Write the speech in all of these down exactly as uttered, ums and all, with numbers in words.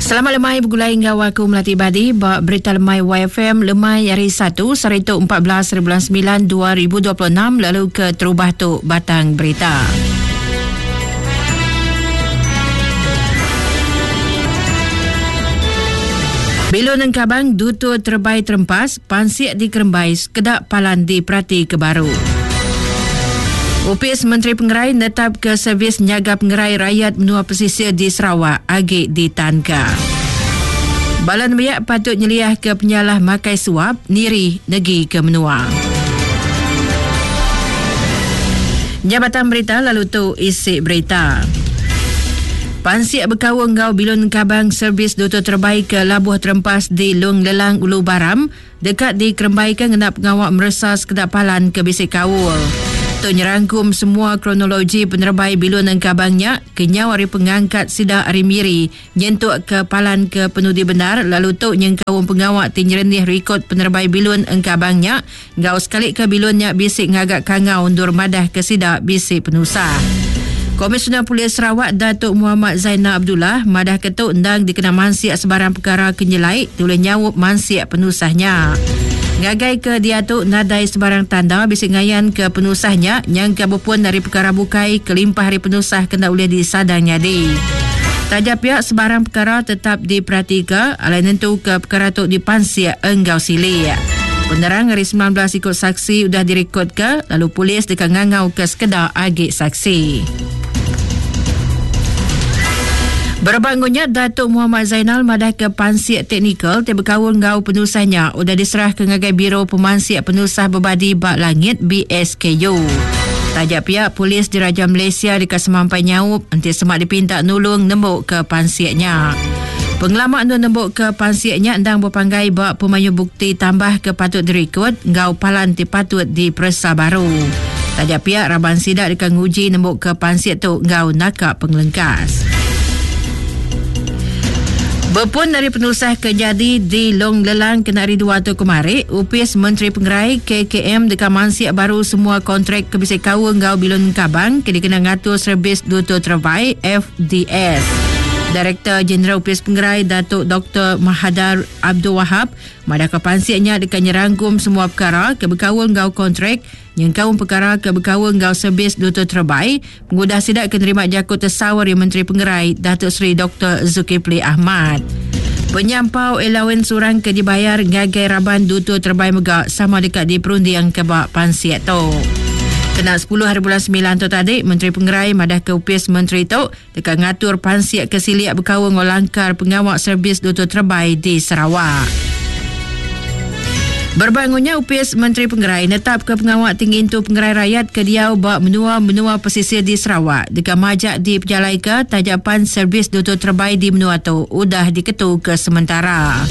Selamat lemai bergulai enggau aku Melati Badi ba Berita Lemai Y F M lemai hari Satu saritu empat belas bulan sembilan dua ribu dua puluh enam lalu ke terubah tu batang berita. Bilun Engkabang Dutur Terbai Terempas, Pansik di Kerembai, Sekedak Palan di Perati ke Baru. Upis Menteri Pengerai netap ke servis nyaga pengerai rakyat menua pesisir di Sarawak agi ditanka. Bala nembiak patut nyeliah ke penyalah makai suap niri negi ke menua. Jabatan berita lalu tu isi berita. Pansik berkaul enggau bilun kabang servis Dutur Terbaik ke Labuh Terempas di Long Lelang Ulu Baram dekat dikerembaikan ngena pengawak meresa sekedar palan ke bisik kaul. Tu nyerangkum semua kronologi penerbai bilun engkabangnya kenyau hari pengangkat sida hari miri nyentuk ke palan ke penudi benar lalu tu nyengkaum pengawak ti nyerenih rekod penerbai bilun engkabangnya ngau sekali ke bilunnya bisik ngagak kangau undur madah ke sida bisik penusah. Komisioner Polis Sarawak Datuk Muhammad Zainal Abdullah madah ketuk endang dikena mansiak sebarang perkara kenyelai tulis nyawup mansiak penusahnya. Ngagai ke dia tu nadai sebarang tanda bisik ngayan ke penusahnya nyangka berpun dari perkara bukai kelimpah hari penusah kena boleh disadang nyadi. Taja pihak sebarang perkara tetap diperhatikan alai nentu ke perkara tu dipansiak enggau silik. Penerang hari sembilan belas ikut saksi sudah direkod ke lalu polis dekat ngangau ke sekedar agik saksi. Berbangunnya Datuk Muhammad Zainal madah ke pansiak teknikal ti berkaul ngau penusahnya udah diserah ke ngagai Biro Pemansiak Penusah Berbadi Bak Langit B S K U. Taja pihak polis Diraja Malaysia dekat semampai nyaup enti semak dipinta nulung nembuk ke pansiaknya. Pengelamak nu nembuk ke pansiaknya endang berpanggai bak pemayu bukti tambah ke patut direkod ngau palan ti patut diperesa baru. Taja pihak raban sidak dekat nguji nembuk ke pansiak tu ngau nakak pengelengkas. Berpun dari penusah kejadi di Long Lelang kena hari dua tu kemari, Upis Menteri Pengerai K K M dekat mansiak baru semua kontrak kebisik kaul ngau bilun kabang ke dikena ngatur servis Dutur Terbaik F D S. Direktur Jeneral Upis Pengerai Datuk Doktor Mahadar Abdul Wahab madah ke pansiaknya dekat nyerangkum semua perkara ke berkaul ngau kontrak yang kaum perkara ke berkaul ngau servis Dutur Terbaik pengudah sidak kenerima jakut tersawar Menteri Pengerai Datuk Seri Doktor Zulkifli Ahmad. Penyampau allowance orang ke dibayar ngagai raban Dutur Terbaik megak sama dekat di perundiang ke bak pansiak tu. Kena sepuluh hari bulan sembilan tu tadi, Menteri Pengerai madah ke upis Menteri tu dekat ngatur pansiak ke siliak berkaul ngau langkar pengawak servis Dutur Terbaik di Sarawak. Berbangunnya upis Menteri Pengerai netap ke pengawak tinggi itu pengerai rakyat ke diau bak menua-menua pesisir di Sarawak. Dekat majak di pejalai ke tajapan servis Dutur Terbaik di menua tu udah diketu ke sementara.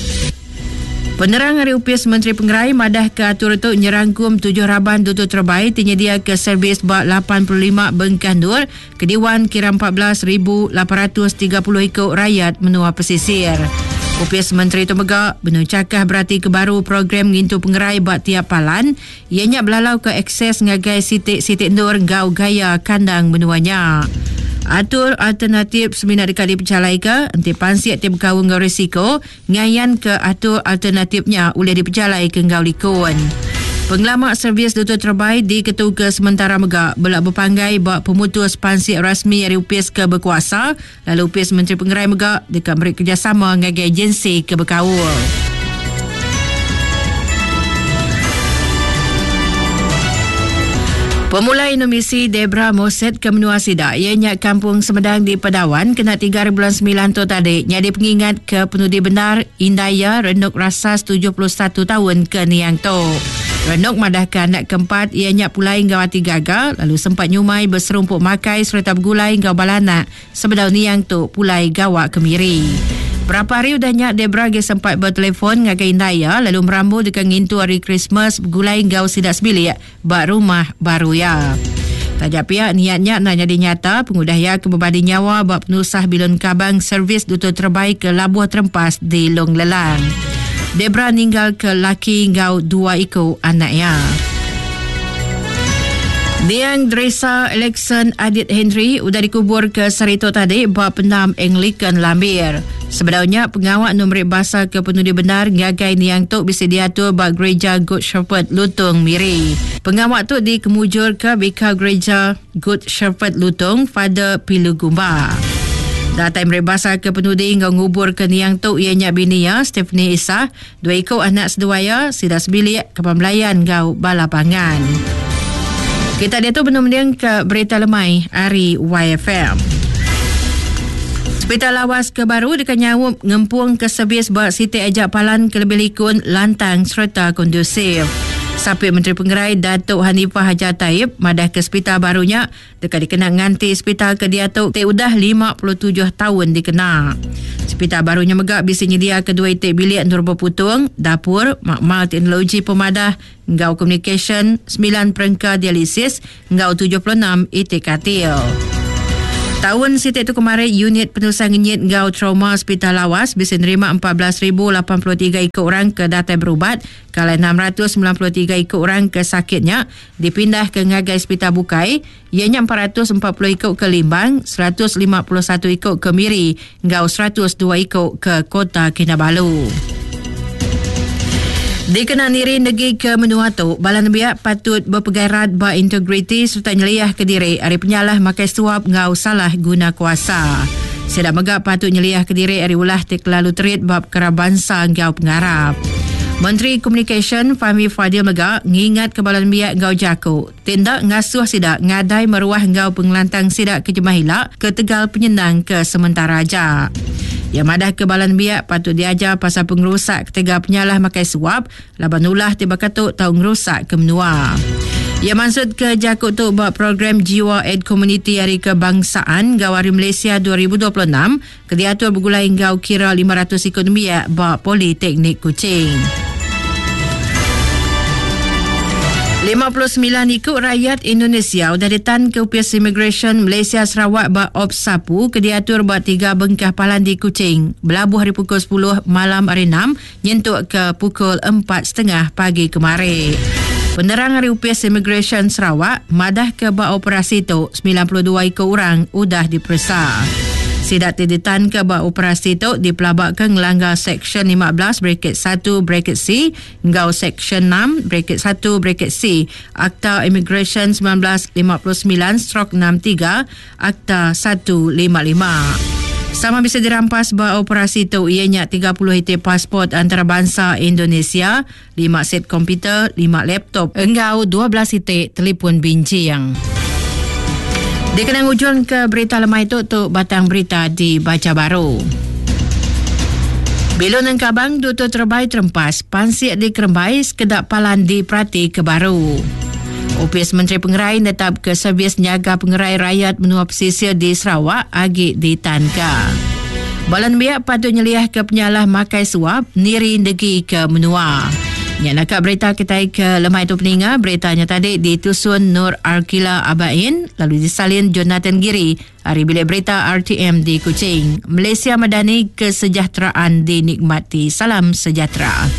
Penerang hari upis Menteri Pengerai madah ke atur tu nyerangkum tujuh raban Dutur Terbaik tinyedia ke servis bak lapan puluh lima bengkah nur ke Dewan kira empat belas ribu lapan ratus tiga puluh ikut rakyat menua pesisir. Upis Menteri tu megak benuh cakah berarti ke baru program ngintu pengerai bak tiap palan ianya belalau ke akses ngagai sitik-sitik nur gau gaya kandang menuanya. Atur alternatif semina dekat dipercalai ke enti pansiak tiap berkaul ngau risiko ngayan ke atur alternatifnya boleh dipercalai ke ngau likun. Pengelamak servis Dutur Terbaik diketu ke sementara megak belak berpanggai bak pemutus pansiak rasmi dari upis ke berkuasa lalu upis Menteri Pengerai megak dekat beri kerjasama ngagai agensi ke berkaul. Pemulai Indonesia Debra Moset ke menua Sidak ianya Kampung Semedang di Padawan kena tiga bulan sembilan tu tadi nyadi pengingat ke penudi benar Indaya Renuk Rasas tujuh puluh satu tahun ke Niang tu. Renuk madah ke anak keempat ianya pulai ngau hati gagal lalu sempat nyumai berserumpuk makai serta bergulai ngau balanak sebedau Niang tu pulai gawak kemiri. Berapa hari udahnya Debra ge sempat bertelefon ngagai Indaya lalu merambu dekat ngintu hari Christmas bergulai ngau sidak sebilik bak rumah baru ya. Tajak pihak niatnya nak jadi nyata pengudah ya kebebadi nyawa bak penusah bilun kabang servis Dutur Terbaik ke Labuh Terempas di Long Lelang. Debra ninggal ke laki ngau dua iko anaknya. Niang Dresa Alexon Adit Henry udah dikubur ke Sarito tadi bak penam Anglican Lambir. Sebenarnya pengawak nombor bahasa ke penudi benar ngagai niang tu bisa diatur ba Gereja Good Shepherd Lutong Miri. Pengawak tu dikemujur ke Bika Gereja Good Shepherd Lutong Father Pilu Gumba. Datai meri bahasa ke penudi ngau ngubur ke niang tu ianya bini ya Stephanie Isa, dua ikut anak seduaya sida sebilik ke pembelayan ngau bala pangan. Kita dia tu benar-benar ke berita lemai hari Y F M. Hospital Lawas ke baru dekat nyawup ngempung ke servis buat Siti Ajak Palan ke lebih likun, lantang serta kondusif. Sapit Menteri Pengerai Datuk Hanifah Hajar Taib madah ke hospital barunya dekat dikena nganti hospital ke dia tu te udah lima puluh tujuh tahun dikena. Hospital barunya megak bisa nyedia kedua itik bilik nur berputung, dapur, makmal teknologi pemadah, ngau communication, sembilan perengka dialisis, ngau tujuh puluh enam itik katil. Tahun sitik tu kemarin, unit penulisan ngenyit ngau trauma Hospital Lawas bisa nerima empat belas ribu lapan puluh tiga ikut orang ke datai berubat, kalau enam ratus sembilan puluh tiga ikut orang ke sakitnya dipindah ke ngagai Hospital Bukai, ianya empat ratus empat puluh ikut ke Limbang, seratus lima puluh satu ikut ke Miri, ngau seratus dua ikut ke Kota Kinabalu. Dikenal niri negeri ke menua tu, bala nembiak patut berpegairat ba integriti serta nyeliah ke diri ari penyalah makai suap ngau salah guna kuasa. Sedak megak patut nyeliah ke diri ari ulah tik lalu terit bab kerabansa ngau pengarap. Menteri Komunikasi Fahmi Fadil megak ngingat ke bala nembiak ngau jaku, tindak ngasuh sidak ngadai meruah ngau pengelantang sidak ke jemah hilak ke tegal penyenang ke sementara aja. Yang madah ke balan biak patut diajar pasal pengerusak ketiga penyalah makai suap laban ulah tiba ketuk tau ngerusak ke menua. Ia maksud ke jakut tu buat program Jiwa Ed Community Hari Kebangsaan Gawari Malaysia dua ribu dua puluh enam ke diatur bergulai ngau kira lima ratus ikut nembiak bak Politeknik Kuching. lima puluh sembilan ikut rakyat Indonesia sudah ditan ke U P S Immigration Malaysia Sarawak bak Op Sapu ke diatur buat tiga bengkah palan di Kuching. Belabuh hari pukul sepuluh malam hari enam nyentuk ke pukul empat setengah pagi kemarin. Penerang hari U P S Immigration Sarawak madah ke bak operasi tu sembilan puluh dua ikut orang udah diperiksa. Sidak ditan ke bak operasi tu dipelabak ke ngelanggar Seksyen lima belas bracket satu bracket C ngau Seksyen enam bracket satu bracket C Akta Immigration sembilan belas lima puluh sembilan stroke enam tiga Akta satu lima lima. Sama bisa dirampas bak operasi tu ianya tiga puluh item pasport antarabangsa Indonesia, lima set komputer, lima laptop, engau dua belas item telefon bincang. Dikenang ujung ke berita lemai tu, tu batang berita dibaca baru. Bilun Engkabang Duta Terbaik Terempas, Pansik di Kerembai, Sekedak Palan di Prati ke Baru. U P S Menteri Pengerai netap ke servis nyaga pengerai rakyat menua pesisir di Sarawak agi di Tanka. Balan biak patut nyeliah ke penyalah makai suap niri negi ke menua. Yang nak berita kita ke lemai tu peninga, beritanya tadi ditusun Nur Arkila Abain lalu disalin Jonathan Giri hari bilik berita R T M di Kuching. Malaysia Madani, kesejahteraan dinikmati. Salam sejahtera.